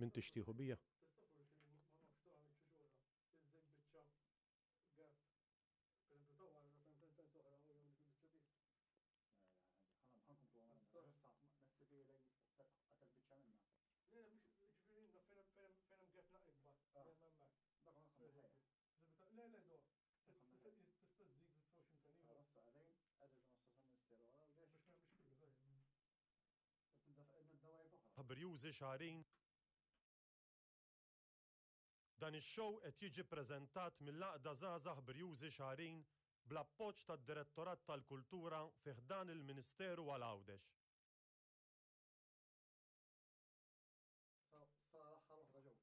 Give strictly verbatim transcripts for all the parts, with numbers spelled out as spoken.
Min tixtieħu bija? Tista' forsi ma nafx tagħmel xi xogħla. Iżżejt biċċa gap. Pereżempju ta' wara fejn sentenza oħra u jagħmel dik il-biċċa biss. Ħankomplu għamela. Messi fi lej qatel biċċa minna. Le, le, mhux ġifieri fejn fejn fejn hemm gap naq ikbar. Ah. Hemm hemmhekk. Dak ma nħamlu ħajja. Le, le, do. Tista' tista' żżid titfgħu x'imkien ieħor. Issa qegħdin qegħdin nassa sa ministeru għal Biex ma biex kollu tajjeb. Nibda wajf oħra. Ħabrjużi Xagħrin. Dan ix-show qed jiġi ppreżentat mill-Għaqda Żgħażagħ Brjużi Xagħrin bl-appoġġ tad-Direttorat tal-Kultura fi ħdan il-Ministeru għal Għawdex. Sa l-aħħar waħda ġew.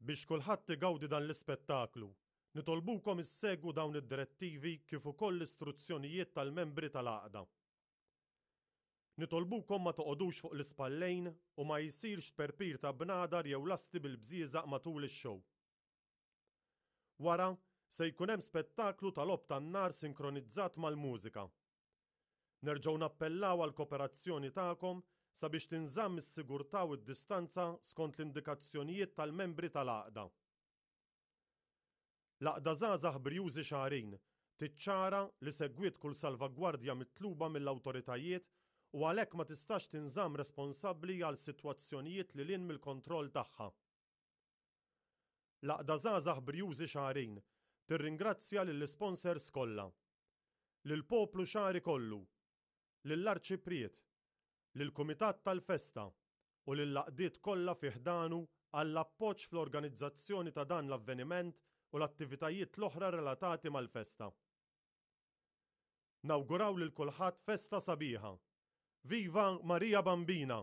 Biex kulħadd igawdi dan l-ispettaklu, nitolbukom issegwu dawn id-direttivi kif ukoll l-istruzzjonijiet tal-membri tal-għaqda. Nitolbukom ma toqogħdux fuq l-ispallejn u ma jsirx tperpir ta' bnadar jew lasti bil-bżieżaq matul ix-show. Wara, se jkun hemm spettaklu tal-logħob tan-nar sinkronizzat mal-mużika. Nerġgħu nappellaw għal kooperazzjoni tagħkom sabiex tinżamm is-sigurtà u d-distanza skont l-indikazzjonijiet tal-membri tal-għaqda. L-Għaqda Żgħażagħ Brjużi Xagħrin tiċċara li segwiet kull salvagwardja mitluba mill-awtoritajiet u għalhekk ma tistax tinżamm responsabbli għal sitwazzjonijiet li lin mill-kontroll tagħha. L-Għaqda Żgħażagħ Brjużi Xagħrin tirringrazzja lill-isponsors kollha, lill-poplu xagħri kollu, lill-Arċipriet, lill-Kumitat tal-Festa u lill-għaqdiet kollha fi ħdanu għall-appoġġ fl-organizzazzjoni ta' dan l-avveniment u l-attivitajiet l-oħra relatati mal-festa. Nawguraw lil kulħadd festa sabiħa. Viva Maria Bambina!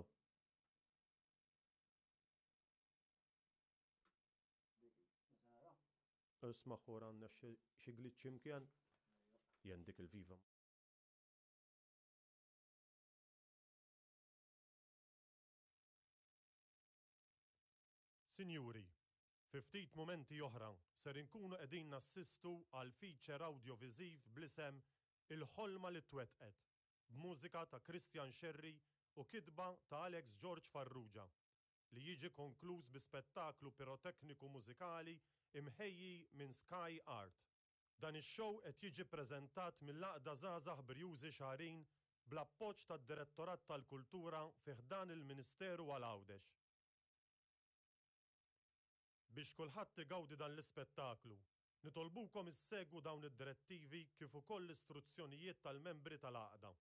Isma' ħor għandna xi glitch imkien. Jen dik il-viva. Sinjuri, fi ftit mumenti oħra ser inkunu qegħdin nassistu għal feature audiovisiv bl-isem Il-ħolma li twettqet, b'mużika ta' Christian Scerri u kitba ta' Alex George Farrugia, li jiġi konkluż bi spettaklu pirotekniku mużikali imħejji minn Sky Art. Dan ix-show qed jiġi ppreżentat mill-Għaqda Żgħażagħ Brjużi Xagħrin bl-appoġġ tad-Direttorat tal-Kultura fi ħdan il-Ministeru għal Għawdex. Biex kulħadd igawdi dan l-ispettaklu, nitolbukom issegwu dawn id-direttivi kif ukoll l-istruzzjonijiet tal-membri tal-għaqda.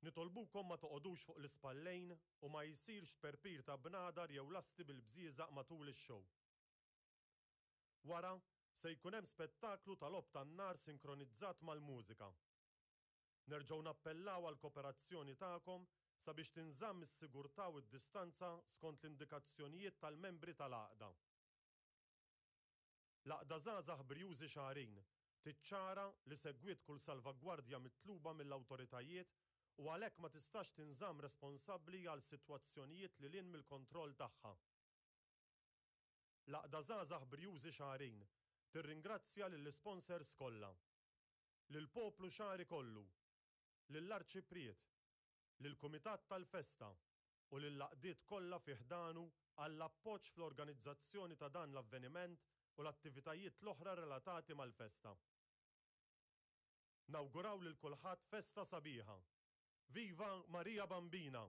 Nitolbukom ma toqogħdux fuq l-ispallejn u ma jsirx tperpir ta' bnadar jew lasti bil-bżieżaq matul ix-show. Wara, se jkun hemm spettaklu tal-logħob tan-nar sinkronizzat mal-mużika. Nerġgħu nappellaw għal kooperazzjoni tagħkom sabiex tinżamm is-sigurtà u d-distanza skont l-indikazzjonijiet tal-membri tal-għaqda. L-Għaqda Żgħażagħ Brjużi Xagħrin tiċċara li segwiet kull salvagwardja mitluba mill-awtoritajiet u għalhekk ma tistax tinżamm responsabbli għal sitwazzjonijiet li lin mill-kontroll tagħha. L-Għaqda Żgħażagħ Brjużi Xagħrin tirringrazzja lill-isponsors kollha, lill-poplu xagħri kollu, lill-Arċipriet, lill-Kumitat tal-Festa u lill-għaqdiet kollha fi ħdanu għall-appoġġ fl-organizzazzjoni ta' dan l-avveniment u l-attivitajiet l-oħra relatati mal-festa. Nawguraw lil kulħadd festa sabiħa. Viva Maria Bambina!